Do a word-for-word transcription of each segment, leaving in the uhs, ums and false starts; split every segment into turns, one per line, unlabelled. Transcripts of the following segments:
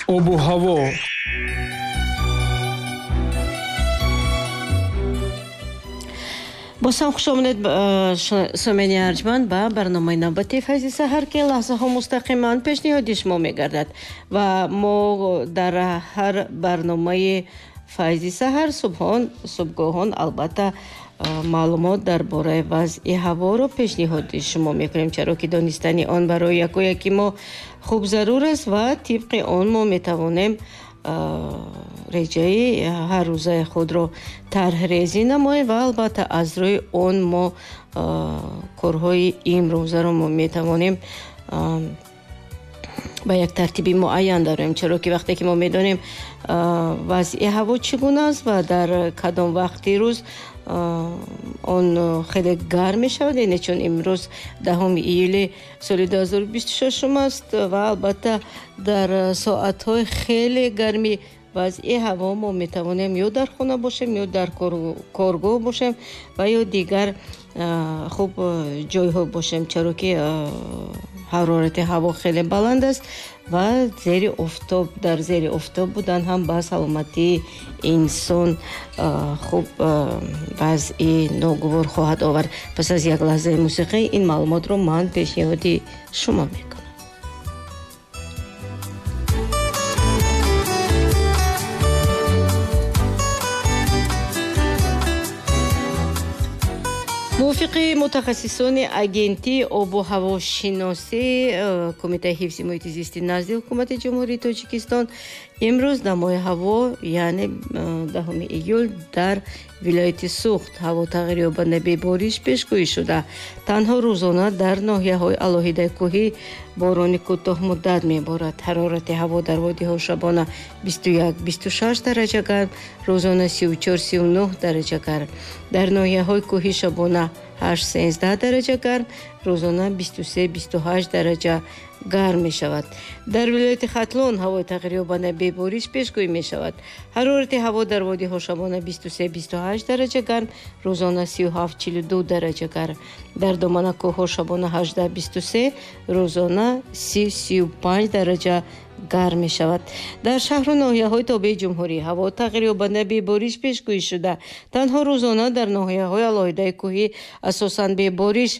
Обу ҳаво.
Боз ҳам хуш омадед, сомени арҷманд, ба барномаи навбатии Файзи саҳар, ки лаҳзаҳо мустақиман пешниҳоди шумо мегардад ва мо дар ҳар барномаи Файзи саҳар субҳон субҳгоҳон албатта маълумот дар бораи вазъи ҳаворо пешниҳоди шумо мекунем, чаро ки донистани он барои яку яки мо хуб зарур аст ва тибқи он мо метавонем реҷаи ҳаррӯзаи худро тарҳрезӣ намоем ва албатта аз рӯи он мо корҳои имрӯзаро мо метавонем ба як тартиби муайян дароем, чаро ки вақте ки мо медонем вазъи ҳаво чӣ гуна аст ва дар кадом вақти рӯз он хеле гарм мешавад, яъне чун имрӯз даҳуми июли соли ду ҳазору бисту шашум аст ва албатта дар соатҳои хеле гарми вазъи ҳаво мо метавонем ё дар хона бошем, ё дар коргоҳ бошем ва ё дигар хуб ҷойҳо бошем, чаро ки ҳарорати ҳаво хеле баланд аст ва зери офтоб, дар зери офтоб будан ҳам ба саломатии инсон хуб вазъи ногувор хоҳад овард. Пас аз як лаҳзаи мусиқӣ ин маълумотро ман пешниҳоди шумо мекунам. Мувофиқи мутахассисони агентии обу ҳавошиносӣ Кумитаи ҳифзи муҳити зисти назди Ҳукумати Ҷумҳурии Тоҷикистон имрӯз дамои ҳаво, яъне даҳуми июл, дар вилояти Суғд ҳаво тағйирёбанда бебориш пешгӯӣ шуда. Танҳо рӯзона дар ноҳияҳои алоҳидаи кӯҳӣ борони кӯтоҳмуддат меборад. Ҳарорати ҳаво дар водиҳо шабона бисту як бисту шаш дараҷа гарм, рӯзона сию чор сию нӯҳ дараҷа гарм. Дар ноҳияҳои кӯҳӣ шабона ҳашт сенздаҳ дараҷа гарм, рӯзона бисту се бисту ҳашт дараҷа гарм мешавад. Дар вилояти Хатлон ҳавои тағйирёбанда бебориш пешгӯӣ мешавад. Ҳарорати ҳаво дар водиҳо шабона бисту се бисту ҳашт дараҷа гарм, рӯзона сию ҳафт чилу ду дараҷа гарм. Дар домана кӯҳҳо шабона ҳаждаҳ бисту се, рӯзона си сию панҷ дараҷа гарм мешавад. Дар шаҳру ноҳияҳои тобеи ҷумҳурӣ ҳаво тағйирёбанда бебориш пешгӯӣ шуда. Танҳо рӯзона дар ноҳияҳои алоҳидаи кӯҳӣ асосан бебориш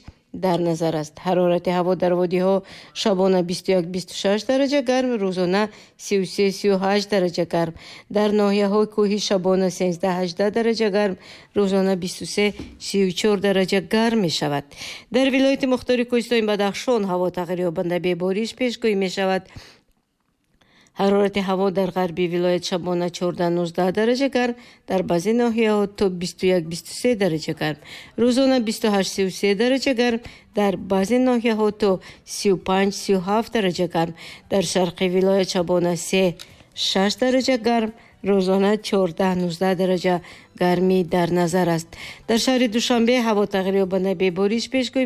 дар назар аст. Ҳарорати ҳаво дар водиҳо шабона бисту як бисту шаш дараҷа гарм, рӯзона сию се сию ҳашт дараҷа гарм. Дар ноҳияҳои кӯҳӣ шабона сенздаҳ ҳаждаҳ дараҷа гарм, рӯзона бисту се сию чор дараҷа гарм мешавад. Дар вилояти мухтори кӯҳистони Бадахшон ҳаво тағйирёбанда бебориш пешгӯӣ мешавад. Ҳарорати ҳаво дар ғарби вилоят шабона чордаҳ нуздаҳ дараҷа гарм, дар баъзе ноҳияҳо то бисту як бисту се дараҷа гарм, рӯзона бисту ҳашт сию се дараҷа гарм, дар баъзе ноҳияҳо то сию панҷ сию ҳафт дараҷа гарм, дар шарқи вилоят шабона се шаш дараҷа гарм, рӯзона чордаҳ нуздаҳ дараҷа гармӣ дар назар аст. Дар шаҳри Душанбе ҳаво тағйирёбанда бебориш пешгӯӣ